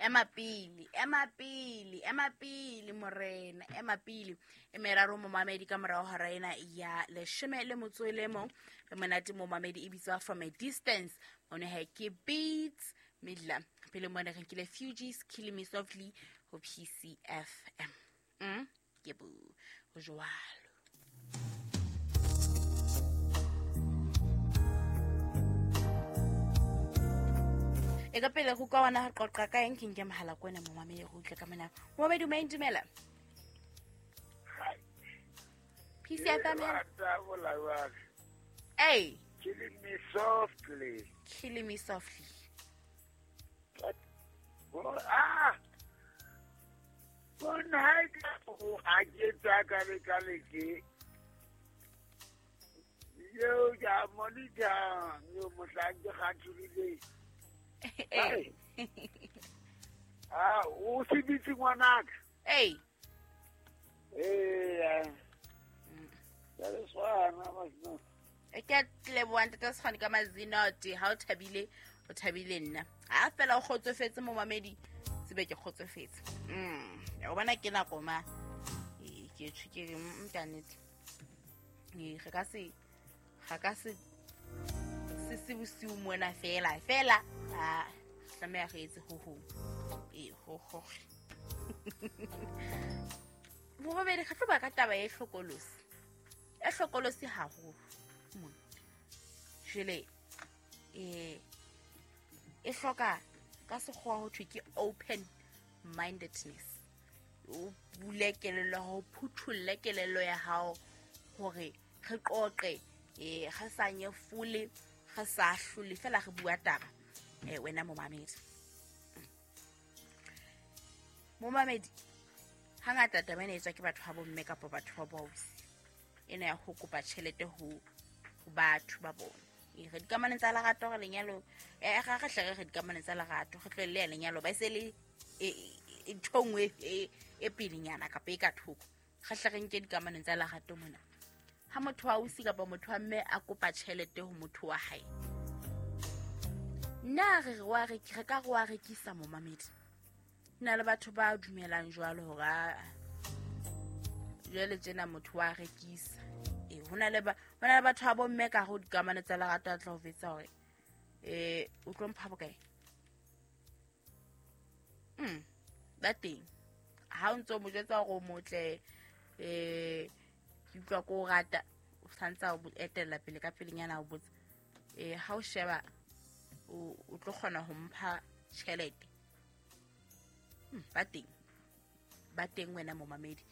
Ema pele, ema pele, ema pele morena, ema pele. E meraro momamedi ka morao hora ena ya 11. Re monate momamedi e bitswa From a Distance. Mone ha ke Beats Midla. Pele mone re nkile Fugees Killing Me Softly ho PCFM. Ke bo ho jwalo. E ka pele go kwa wana qoqa ka eng ke nke mohala ko wena momamedi go utlwe ka mona. Momamedi o main dumela. PCFM. Hey. Killing me softly. Killing me softly. Ah. Bona ha o a ke tsa ka le ka le ke. Yo ya monitor yo mohlang ke kgathurile. Hey. Ah, o se bitse ngwanaka. Hey. Eh. Ya le swana masno. E ke leboha ntate Sekgwane ka mazinoti ha o thabile o thabile nna. Ha fela o kgotsofetse momamedi tsebe ke kgotsofetse. Ya o bona ke nako ma. Ke tjho ke re ka nnete. Re ka se ga ka se se bosiu mona fela fela a tlameha re etse ho ho. Ho ho. Momamedi ga tlo ba ka taba e hlokolosi. E hlokolosi haholo. Jwale e hloka ka sekgowa ho thwe ke open mindedness. O bule kelello ya hao, phuthulle kelello ya hao hore re qoqe, re sa nyefole, re sa hlole fela re bua taba. Wena momamedi. Momamedi hangata taba ena e tswa ke batho ba bomme kapa batho ba boausi. Ena ya ho kopa tjhelete ho batho ba bona. Re dikamanong tsa lerato re lenyalo, ga re hle re dikamanong tsa lerato, re tlohelle ya lenyalo ba e se le ntho nngwe e pelenyana kapa e ka thoko. Re hle re nke dikamanong tsa lerato mona. Ha motho wa ausi kapa motho wa mme a kopa tjhelete ho motho wa hae, nna re re re ka re wa rekisa momamedi. Nna le batho ba dumelang jwalo hore jwale tjena motho wa rekisa. Ho na le batho ba bomme ka ho dikamano tsa lerato a tla ho vetsa hore o tlo mpha bokae. Ba teng. Ha o ntso mo jwetsa hore o motle, ke utlwa ko o rata, o santsa o etella pele ka pelenyana o botsa. Ha o sheba o tlo kgona ho mpha tjhelete. Ba teng. Ba teng wena momamedi.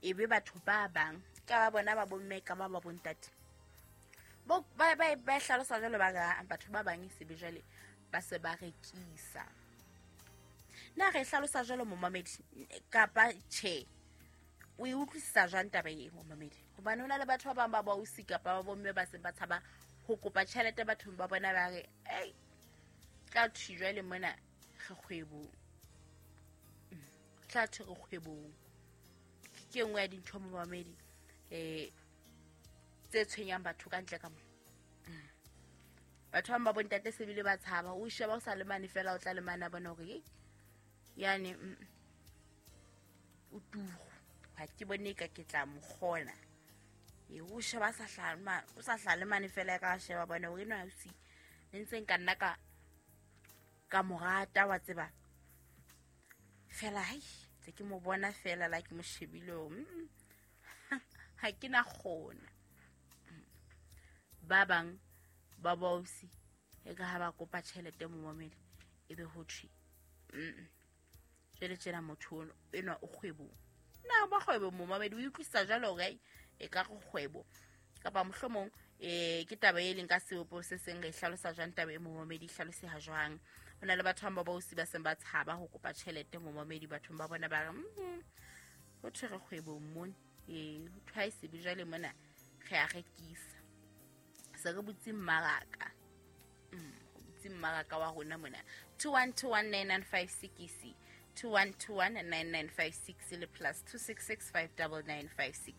E be batho ba bang ka ba bona ba bomme ka ba ba bontate. Bo ba ba hlalosa jwalo ba batho ba bang e se be jwale ba se ba rekisa. Na re hlalosa jwalo momamedi kapa tjhe? O e utlwisisa jwang taba e momamedi? Hobane ho na le batho ba bang ba boausi kapa ba bomme ba seng ba tshaba ho kopa tjhelete bathong ba bona ba re, "Ei, tla thwe jwale mona re kgwebong." Tla thwe re kgwebong. Ke nngwe ya dintho momamedi tse tshwenyang batho ka ntle ka mo. Batho ba bontate se bile ba tshaba, o sheba o sa lemane fela o tla lemana bona hore yani o tugo ha ke bone ka ke tla mo kgona. O sheba sa hlama, o sa hlalemane fela ka sheba bona hore eno ausi ne ntse nka nna ka morata wa tseba. Fela hai tse ke mo bona fela la ke mo shebile ha ke na kgona. Ba bang ba boausi e ka ha ba kopa tjhelete momamedi e be ho thwe jwale tjena motho enwa o kgwebong. Na ba kgwebo momamedi o utlwisisa jwalo hore e ka re kgwebo kapa mohlomong ke taba e leng ka sebopo se seng re hlalosa jwang taba e momamedi hlaloseha jwang. Ho na le batho ba boausi ba seng ba tshaba ho kopa tjhelete momamedi bathong ba bona ba re ho thwe re kgwebong mona, ho thwe ha e se be jwale mona re a rekisa. Se re butse mmaraka. Butse mmaraka wa rona mona 21219956 21219956 le plus 266599956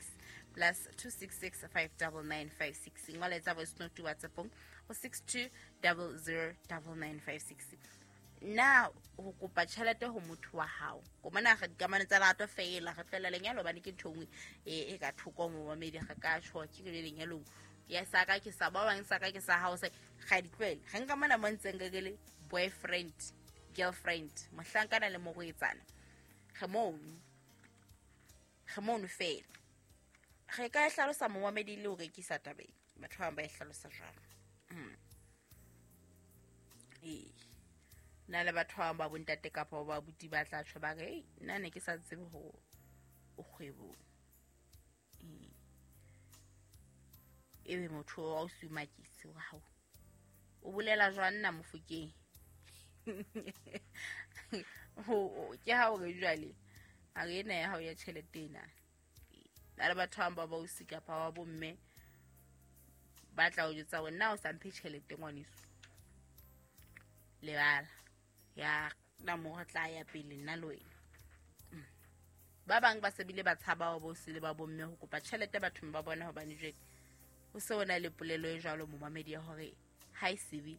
plus 266599956. Ngola etsa voice note WhatsApp-ong ho 62009956. Na ho kopa tjhelete ho motho wa hao ko mona re dikamano tsa lerato feela re tlohela lenyalo hobane ke ntho e nngwe e ka thoko momamedi re ka tjho ke re lenyalong ya sa ka ke sa ba bang sa ka ke sa hao se ga di tlohele re nka mona mo ntseng re le boyfriend girlfriend mohlankana le morwetsana re mono feela re ka e hlalosa momamedi le ho rekisa tabeng batho ba bang ba e hlalosa jwalo. Ee nna le batho ba bang ba bontate kapa ba abuti ba tla tjho ba re ei nna ne ke sa tsebe hore o kgwebong. Ebe motho wa o sumakise wa hao o bolela jwang nna Mofokeng? Ke ha o re jwale a re ena ya hao ya tjhelete ena. Na le batho ba bang ba bausi kapa ba bomme ba tla o jwetsa hore nna o sa mphe tjhelete ngwaneso lebala ya na mo re tla ya pele nna le wena. Ba bang ba se bile ba tshaba ba bosi le ba bomme ho kopa tjhelete bathong ba bona hobane jwale ho se ho na le polelo e jwalo momamedi ya hore ha e sebe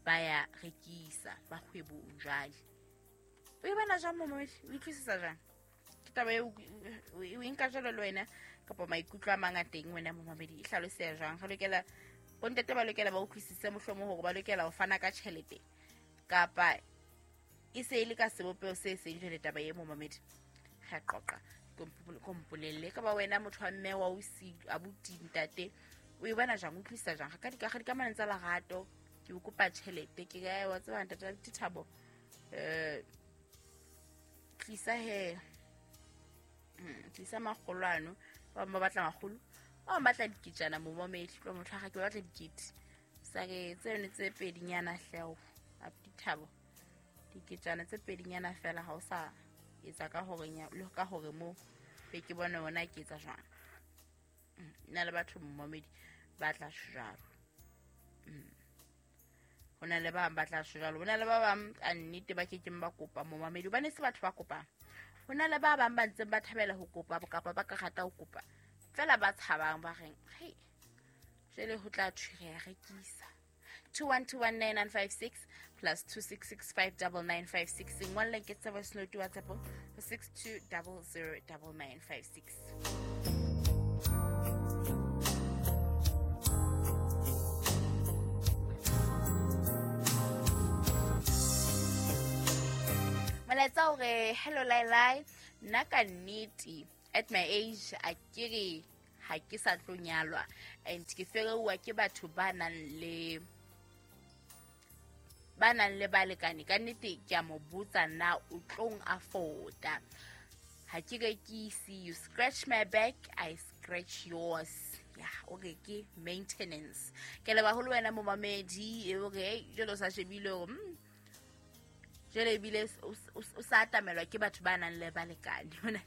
ba ya rekisa ba kgwebong jwale. O e bona jwang momamedi? O utlwisisa jwang? Ke taba eo o e nka jwalo le wena kapa maikutlo a mang a teng wena momamedi e hlaloseha jwang? Re lokela bontate ba lokela ba utlwisise mohlomong hore ba lokela ho fana ka tjhelete kapa e se e le ka sebopeho se seng jwale taba e momamedi. Re a qoqa kompolelle ka ba wena motho wa mme wa ausi abuti ntate o e bona jwang? O utlwisisa jwang? Ka dikamanong tsa lerato ke o kopa tjhelete ke ka wa tseba ntate Thabo tlisa he tlisa makgolwano ba bang ba batla makgolo ba bang batla diketjana momamedi tlo motho wa ga ke batla dikete sa re tseno tse pedinyana hleo abuti Thabo diketjana tse pedinyana fela ha o sa etsa ka hore le ka hore mo be ke bone ona ke etsa jwang. Nna le batho momamedi ba tla jwalo. Ho na le ba bang ba tla jwalo, ho na le ba bang ka nnete ba kekeng ba kopa momamedi hobane se batho ba kopang. Ho na le ba bang ba ntseng ba thabela ho kopa kapa ba ka rata ho kopa fela ba tshabang ba reng hei jwale ho tla thwe re ya rekisa. 21219956 plus 26659956 ngwalle ke tsa voice note WhatsApp 62009956. Molaetsa o re hello Lailai, nna ka nnete at my age a ke re ha ke sa tlo nyalwa and ke fereuwa ke batho ba nang le balekane ka nnete ke a mo botsa na o tlong afforda. Ha ke rekise, you scratch my back I scratch yours. Ya o re ke maintenance. Ke leba ho le wena momamedi e o re jwale o sa shebile hore jwale ebile o sa atamelwa ke batho ba nang le balekane.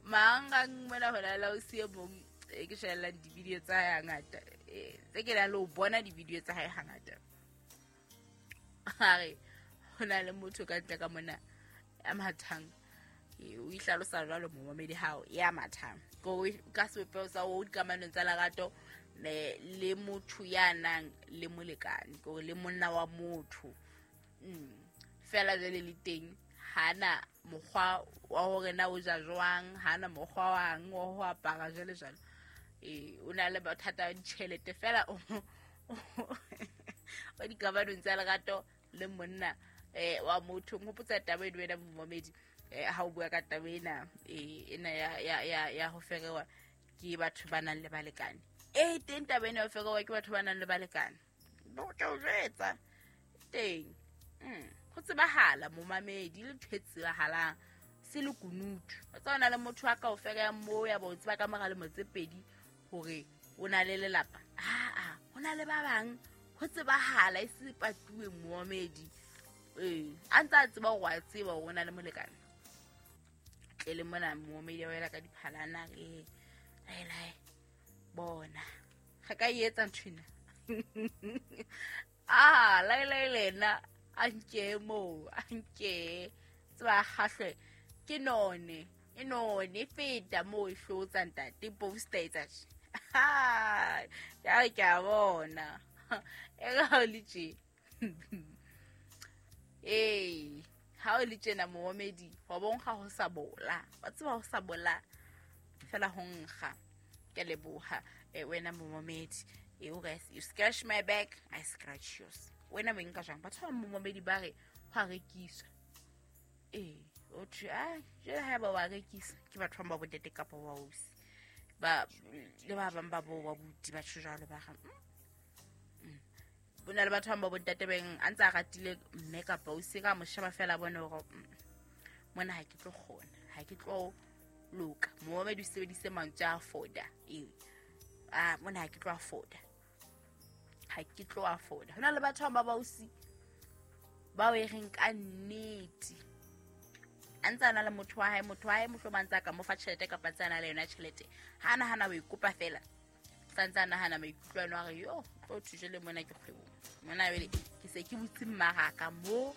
Mangang mona hona la o sie mong ke shebellang di-video tsa hae hangata tse ke nang le ho bona di-video tsa hae hangata. A re ho na le motho ka ntle ka mona ya mathang o ihlalosa jwalo momamedi hao ya mathang ka sebopeho sa o dikamanong tsa lerato le motho ya nang le molekane kore le monna wa motho. Fela jwale le teng hana mokgwa wa hore na o ja jwang, hana mokgwa wang wa ho apara jwale jwalo. O na le bothata ba ditjhelete fela o dikamanong tsa lerato le monna wa motho. Nghopotsa taba eno wena momamedi ha o bua ka taba ena ena ya ho ferewa ke batho ba nang le balekane. Teng taba ena ya ho ferewa ke batho ba nang le balekane. Bo tla o jwetsa teng. Ho tsebahala momamedi le ntho e tsebahalang se le kunutu. O tseba na le motho a ka o fereyang moo ya ba o tseba ka mora lemo tse pedi hore o na le lelapa. Aa ho na le ba bang ho tsebahala e se patuwe momamedi. A ntse a tseba hore wa tseba hore o na le molekane. Tle le mona momamedi wa ela ka diphalana re lai bona ga ka e etsa ntho ena. Lai lena a nke moo a nke tseba kgahlwe ke none e none e feta moo e hlotsa ntate poster etsa tje. Ya re ke a bona e ga o le tje. Ee, ha o le tjena momamedi, wa bonkga ho sa bola, wa tseba ho sa bola fela ho nkga. Ke a leboha wena momamedi. O re you scratch my back, I scratch yours. Wena o nka jwang? Batho ba momamedi ba re ho a rekiswa. Ee, o thwe a jwale haeba wa rekisa ke batho ba ba bontate kapa wa ausi ba le ba bang ba bo wa buti, batho jwalo ba ga ho na le batho ba bang ba bontate beng a ntse a ratile mme kapa ausi, ka mo sheba fela bone hore mona ha ke tlo kgona, ha ke tlo loka. Momamedi o sebedise mantswe a foda. Ee, a mona ha ke tlo afoda, ha ke tlo afoda. Ho na le batho ba bausi bao e reng ka nnete a ntse a na le motho wa hae, motho wa hae mohlomong a ntse a ka mo fa tjhelete kapa ntse a na le yona tjhelete, ha a nahana o e kopa fela, sa ntse a nahana maikutlo ano a re yo tlo thuje le mona ke kgwebong mona, jwale ke se ke butse mmaraka mo.